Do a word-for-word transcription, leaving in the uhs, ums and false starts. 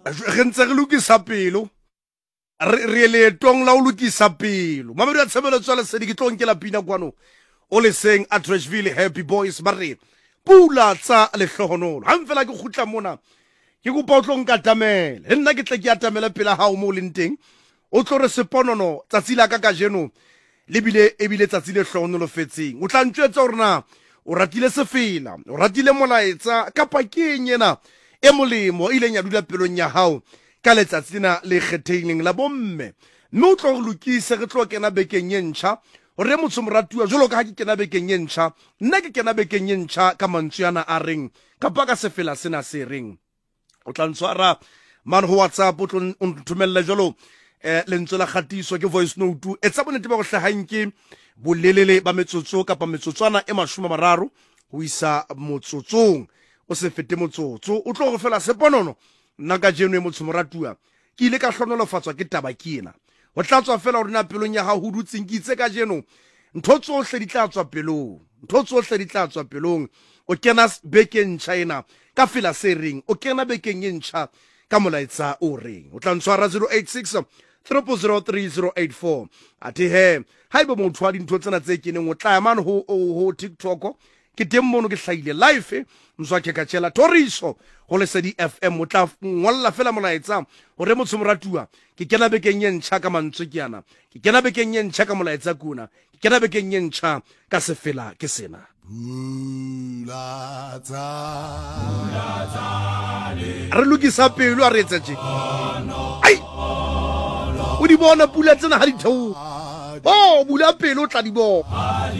Re ntse re lokisa pelo, re re leetong la ho lokisa pelo. Mamedi wa tshebeletso ya Lesedi, ke tlo nkela pina kwano o leseng Atteridgeville Happy Boys, ba re pula tsa lehlohonolo. Hang fela ke kgutla mona, ke kopa o tlo nkatamele le nna, ke tle ke atamele pela hao mo o leng teng, o tlo re seponono tsatsi la ka kajeno le bile ebile tsatsi le hlohonolofetseng. O tla ntjwetsa hore na o ratile sefela, o ratile molaetsa, kapa ke eng ena e molemo e ileng ya dula pelong ya hao ka letsatsi lena le kgethehileng la bomme. Mme o tlo re lokise, re tlo kena bekeng e ntjha, hore motho moratuwa, jwalo ka ha ke kena bekeng e ntjha, nna ke kena bekeng e ntjha ka mantswe ana a reng, kapa ka sefela sena se reng. O tla ntshwara mane ho WhatsApp, o tlo o nthomelle jwalo eh lentswe la kgatiso, ke voice note. Etsa bonnete ba go hlahang ke bolelele ba metsotso kapa metsotswana e mashome a mararo ho isa motsotsong, o se fete motsotso. O tlo go fela seponono, nna kajeno e motho moratuwa ke ile ka hlonolofatswa ke taba ke ena. Ho tla tswa fela hore na pelong ya hao ho dutseng. Ke itse kajeno ntho tsohle di tla tswa pelong, ntho tsohle di tla tswa pelong. O kena bekeng ntjha ena ka fela se reng, o kena bekeng e ntjha ka molaetsa o reng. O tla ntshwara zero eight six triple zero three zero eight four. Athe he, haeba motho wa dintho tsena tse keneng, o tla ya mane ho, ho TikTok, ke teng mono ke hlahile live, Mzwakhe Khatshela Thoriso ho Lesedi F M. O tla ngolla fela molaetsa hore motho moratuwa, ke kena bekeng e ntjha ka mantswe ke ana, ke kena bekeng e ntjha ka molaetsa ke ona, ke kena bekeng e ntjha ka sefela ke sena. Pula tsa Re lokisa pelo, a re etsa tje. Ai! O di bona pula tsena ha di theoha. Oh, bula pelo o tla di bona.